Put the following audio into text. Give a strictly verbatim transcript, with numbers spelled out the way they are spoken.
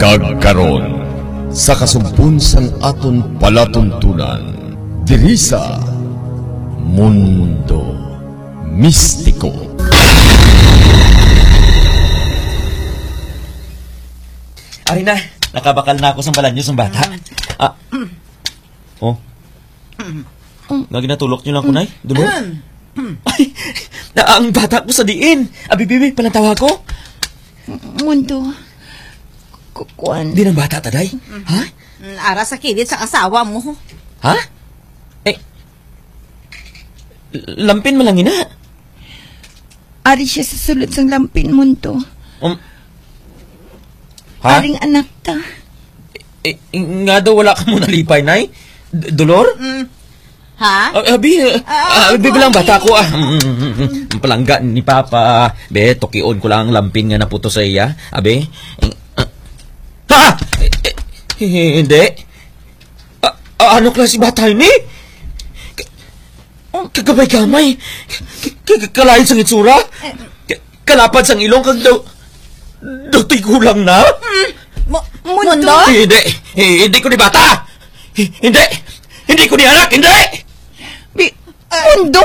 Agkaron, sa kasugpon sang aton palatuntunan, diri sa Mundo Mistiko. Ari na, nakabakal na ako sa balanyo sang bata. Ah. Oh. Nga ginatulok niyo lang ko, Nay? Dulo? Ay, na ang bata ko sa diin. Abi, bibi, palantawa ko. Mundo, ku-, kuwan. Di nang bata ta, Day? Ha? Mm, ara sa kilid sa asawa mo. Ha? Eh, lampin man lang ina. Ari siya sa sulod sang lampin, Mundo. Um, ha? Aring anak ta. Eh, nga daw wala ka mo nalipay, Nay? D-, Dolor? Mm. Ha? Ah, abi, eh, Ah, ah, abi, bilang okay. Bata ko, ah. Mm, mm, mm, mm. Ang palangga ni Papa. Be, tukion ko lang ang lampin nga naputo sa iya. Abi? Eh, ah, ha? Eh, eh, hindi. Ah, ah, ano klase bata ini? Ka-, kagamay-gamay. Ka-, ka-, kalain sang itsura. Eh. Ka-, kalapad sang ilong kag daw, daw tigulang na. Mm. Mo-, Mundo? Mundo? Hindi, hindi ko ni bata. Hindi, hindi ko ni anak, hindi. Bi-, Mundo?